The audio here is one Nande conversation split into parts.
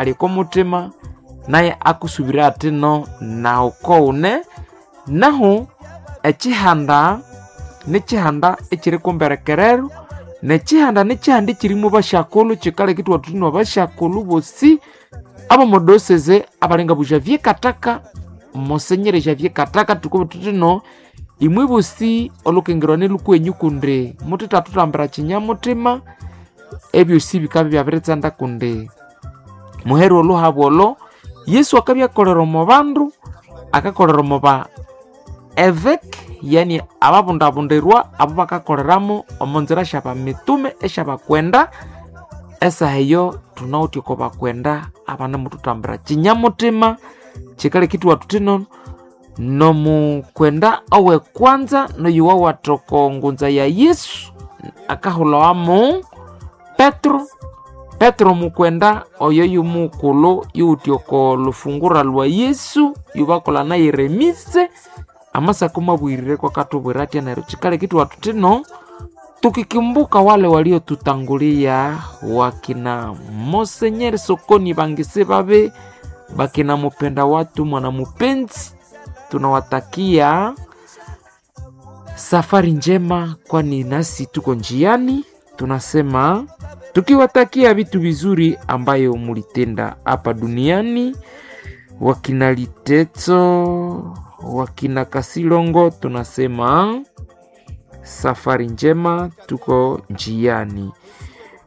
Ali ko mutima naye akusubira ati no nawu koune nahu ekihanda nikihanda ekiri kumberekerero nekihanda nikihanda ekirimu basyakulhu kikaleka ithwathuthunwa abasyakulhu bosi abomodoseze abalinga bu Javier Kataka, Monsenyere Javier Kataka. Tukuba thuthino imwe bosi olukengerwa lukwenyu kundi muthethathutambira kinyamutima ebyosi bikabya byabiritsanda kundi muheru oluhabu olo Yesu akabyakolera omo bandu, akakolera omo ba eveke, yani ababundabundirwa abo bakakoleramu omo nzira syabamitume esyabakwenda. Esaha eyo thunawithe oko bakwenda abanemuthutambira kinyamutima kikaleka ithwathuthino nomukwenda owekwanza noyuwawatha oko ngunza ya Yesu akahulhawamu Petro. Petro mukwenda oyo yumukulhu yuwithe oko lufungura lwa Yesu yubakolha naye remise amasako mabwirire kwakathubwira athya neryo kikaleka ithwathuthino tukikumbuka wale waliotutangulia wakina Monsenyeri Sokoni Bangisi babe bakina mupenda watu mwana mupenzi, tunawatakia safari njema, kwani nasi tuko njiani. Tunasema tukiwatakia vitu vizuri ambayo mulitenda hapa duniani, wakina Litetso, wakina Kasilongo, tunasema safari njema, tuko njiani.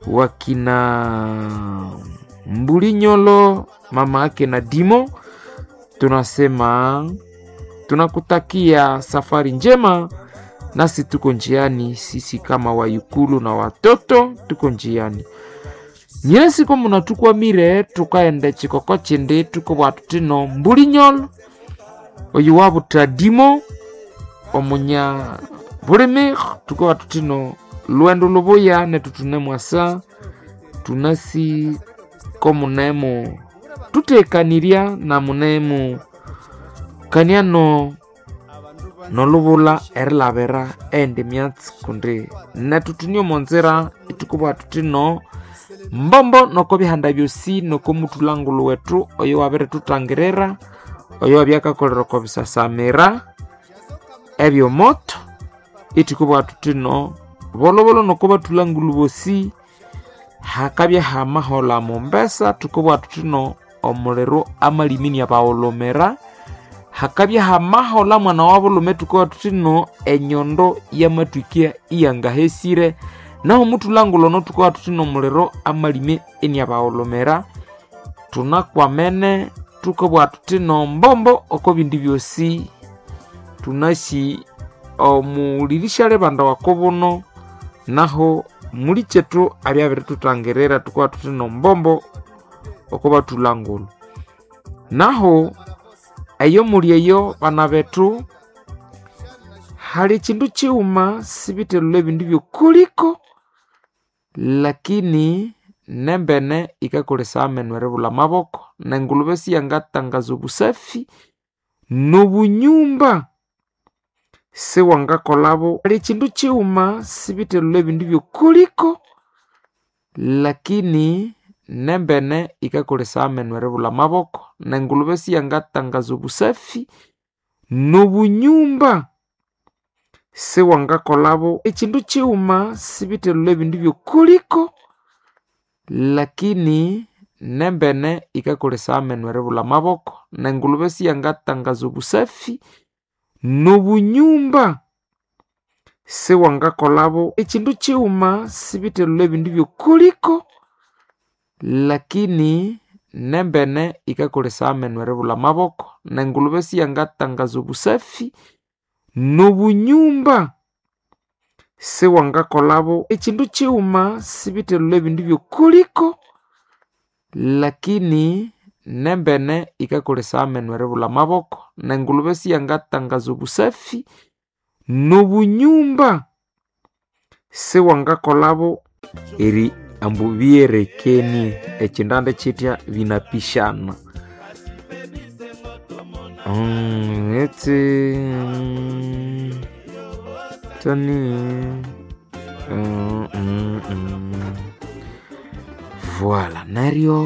Wakina Mbulinyolo, mama yake na Dimo, tunasema tunakutakia safari njema, nasi tuko njiani. Sisi kama wayukulu na watoto tuko njiani. Nyesi ko munatukwamire tukaenda chikoko chindi tukobwa tutino Mbulinyolo oyu wabuta Dimo omunya bulimi tukoba tutino lwendo lubuya netutune mwasa tunasi ko munemu tutekanirya na munemu kaniano nolubula erilabira endi myatsi kundi netutunie omonzira itukubwa tutino mbombo noko bihanda byosi noko muthulangulu wethu oyo wabirithuthangirira oyo wabyakakolera oko bisasamira ebyomoto itukubwa tutino bolobolo noko bathulangulu bosi hakabya hamahola mombesa tukubwa tutino omuliro amalimi abawolomera hakabya hamahola mwana wa bulume tukuba tutino enyondo yamatwikia iyangahesire naho muthulangulu ono tukuba tutino omuliro amalime eniabawolomera tunakwamene tukubwa tutino mbombo oko bindi byosi tunasi omulirisha libanda wakobuno naho muli kyethu abyabirithutangirira tukuba tutino mbombo oko bathulangulu naho eyo muli eyo bana bethu hali ekindu kighuma sibithelhulha ebindu byokuliko lakini nembene yikakolesaya amenu eribulha amaboko nengulube siyangatangaza obusafi nobunyumba siwangakolabo. Hali ekindu kighuma sibithelhulha ebindu byokuliko lakini nembene yikakolesaya amenu eribulha amaboko nengulube siyangatangaza obusafi nobunyumba siwangakolabo. Ekindu kighuma sibithelhulha ebindu byokuliko lakini nembene yikakolesaya amenu eribulha amaboko nengulube siyangatangaza obusafi nobunyumba siwangakolabo. Ekindu kighuma sibithelhulha ebindu byokuliko lakini nembene yikakolesaya amenu eribulha amaboko nengulube siyangatangaza obusafi nobunyumba siwangakolabo. Ekindu kighuma sibithelhulha ebindu byokuliko lakini nembene yikakolesaya amenu eribulha amaboko nengulube siyangatangaza obusafi nobunyumba siwangakolabo. Eri ambu byerekenie ekindande kyitya binapishana etse tani Voilà neryo.